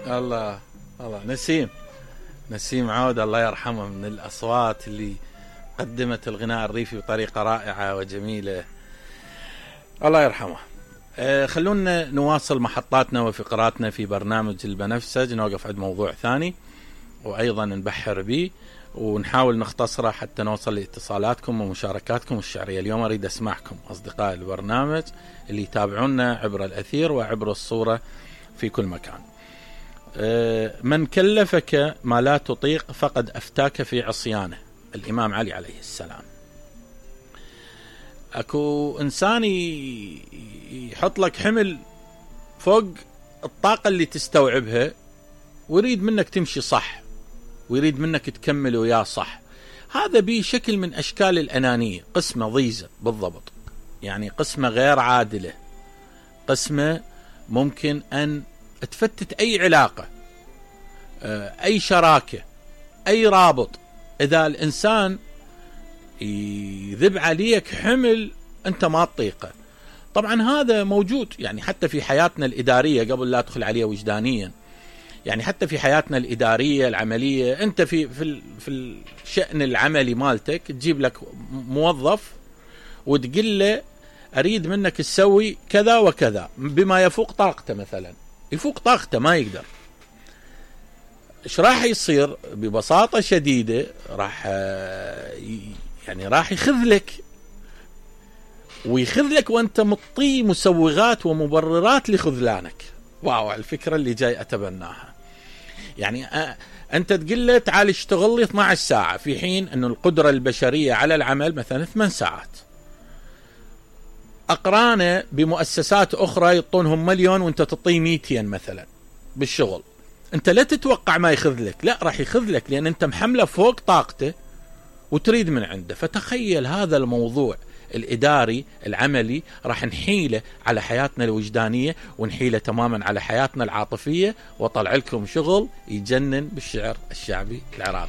الله الله. نسيم عود الله يرحمه من الأصوات اللي قدمت الغناء الريفي بطريقة رائعة وجميلة، الله يرحمه. خلونا نواصل محطاتنا وفقراتنا في برنامج البنفسج، نوقف عند موضوع ثاني وأيضا نبحر به ونحاول نختصره حتى نوصل لاتصالاتكم ومشاركاتكم الشعرية. اليوم أريد أسمعكم أصدقاء البرنامج اللي يتابعونا عبر الأثير وعبر الصورة في كل مكان. من كلفك ما لا تطيق فقد أفتاك في عصيانه، الإمام علي عليه السلام. أكو إنسان يحط لك حمل فوق الطاقة اللي تستوعبها ويريد منك تمشي صح ويريد منك تكمل وياه صح. هذا بيه شكل من أشكال الأنانية، قسمة ضيزة بالضبط، يعني قسمة غير عادلة، قسمة ممكن أن تفتت أي علاقة، أي شراكة، أي رابط، إذا الإنسان يذب عليك حمل أنت ما تطيقه. طبعا هذا موجود يعني حتى في حياتنا الإدارية، قبل لا أدخل عليه وجدانيا، يعني حتى في حياتنا الإدارية العملية، أنت في الشأن العملي مالتك تجيب لك موظف وتقول له أريد منك تسوي كذا وكذا بما يفوق طاقته، مثلا يفوق طاقته ما يقدر. إيش راح يصير؟ ببساطة شديدة راح يخذلك ويخذلك وأنت مطي مسوغات ومبررات لخذلانك. واو الفكرة اللي جاي أتبناها. يعني أنت تقول له تعال اشتغل لي 12 ساعة، في حين أنه القدرة البشرية على العمل مثلا 8 ساعات. أقرانه بمؤسسات أخرى يعطونهم 1,000,000 وأنت تعطيه 200 مثلا بالشغل. أنت لا تتوقع ما يخذلك، لا راح يخذلك لأن أنت محمله فوق طاقته وتريد من عنده. فتخيل هذا الموضوع الإداري العملي راح نحيله على حياتنا الوجدانية ونحيله تماما على حياتنا العاطفية، وطلع لكم شغل يجنن بالشعر الشعبي العراقي.